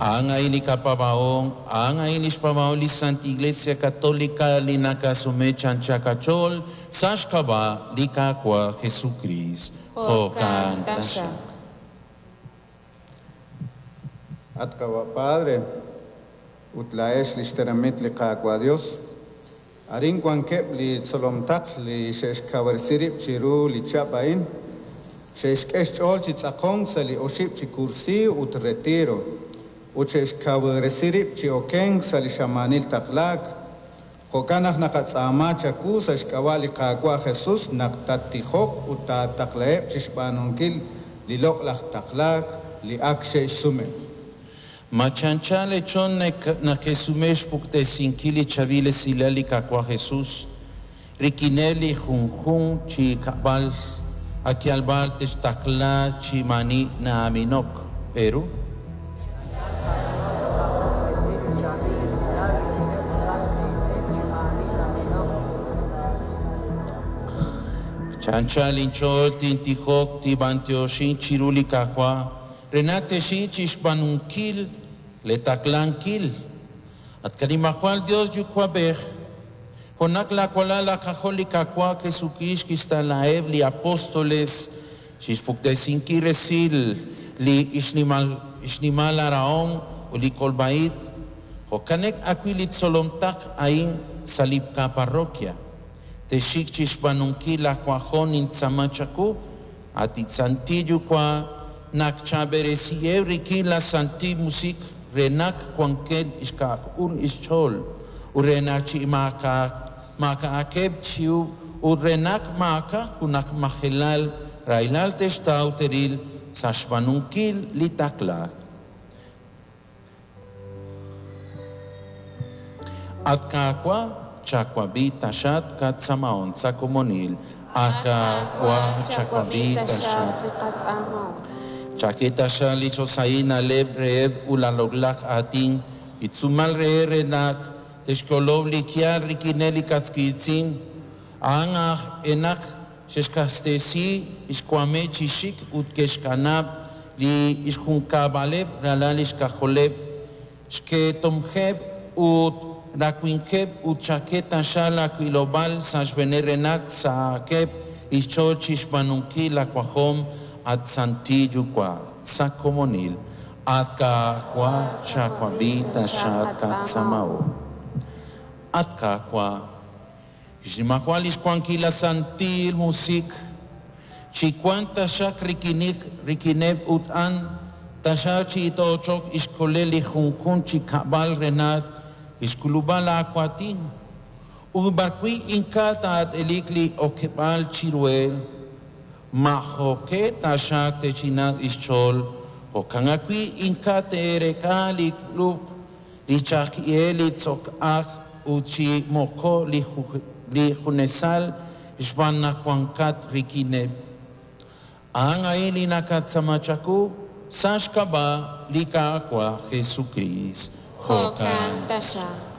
A'an a'in li qapaab'ahom, a'an a'in lix paab'ahom li Santa Iglesia Católica li nakasume chancha qach'ool sa' xk'ab'a' li Qaawa' Jesukriist. Jo'kan taxaq. At Qawa' Padre, ut laa'ex li xtenamit li Qaawa' Dios, arin wankeb' li tzolom taql li xe'xkawresi rib' chiru li chihab' a'in, xe'xk'e xch'ool chi tz'aqonk sa' li oxib' chi kursiiw ut retiro, ut xe'xkawresi rib' chi okenk sa' li xamaanil taqlaak. Jo'kan naq naqatz'aama chawu sa' xk'ab'a' li Qaawa' Jesus naq tattijoq ut taataqlaheb' chixb'aanunkil li loq'laj taqlaak li ak xe'xsume. Ma chancha lechon nakesume xpuktesinkil li chaab'il esilal li Qaawa' Jesus, rik'ineb' li junjunq chi kab'al akyalb'al textaqla chi maani na'aminok. Peru? Chancha linch'ool tintijok tib'antioxin chiru li Qaawa' re naq texi chixb'aanunkil le taqlankil. At kanimajwal Dios yuwa'b'ej, jo'naq laawalal laak'ajol li Qaawa' Jesucrist kixtaqlaheb' li apóstoles chixpuktesinkil resil li xnimal aarahom ut li kolb'a-ib'. Jo'kanek ajwi' li tzolom taql a'in sa' li qaparroquia. Texik chixb'aanunkil laawajom nintz'aama chawu, at Santil Yuwa' naq chab'eresiheb' rik'in la Santil Musiq re naq wankeb' xk'a'uxl xch'ool ut re naq chi maak'a'aqeb' chiw ut re naq maak'a' junaq majelal rahilal textaw teril sa' xb'aanunkil li taqlaak. At Qaawa' chawab'i taxaq qatz'aamahom sa' komonil. At Qaawa' chawab'i taxaq. Chak'e taxaq li choxahil na'leb' reheb' ut laloq'laj aatin, li tz'uumal reheb' re naq te'xkolob' li yaal rik'ineb' li qas qiitz'in. A'an aj enaq xe'xq'axtesi xwameb' chi xik ut ke'xkanab' li xjunkab'aleb' ralal xk'ajoleb', xketomjeb' ut rawimqeb' ut chak'e taxaq laawilob'aal sa' xb'eeneb' re naq sahaqeb' xch'ool chixb'aanunkil laawajom, at Santil Yuwa', sa' komonil. At Qaawa' chawab'i taxaq qatz'aamahom. At Qaawa', xnimajwal lix wankil la Santil Musiq, chi wank taxaq rik'inik rik'ineb' ut a'an taxaq chi itoochok ixkolel li junjunq chi kab'al re naq ixk'ulub'a laawaatin. Ut b'arwi' ink'a' taat'elik li okeb'aal chiruheb', majo'qe taxaq te'chinaq xch'ool, jo'kan ajwi' ink'a' te'reek'a li k'ulub' li chaq'ihel li tz'ok'aj ut chi moko li junesal xb'aan naq wankat rik'ineb'. A'an a'in li nakatz'aama chawu sa' xk'ab'a' li Qaawa' Jesucrist. Jo'kan taxaq.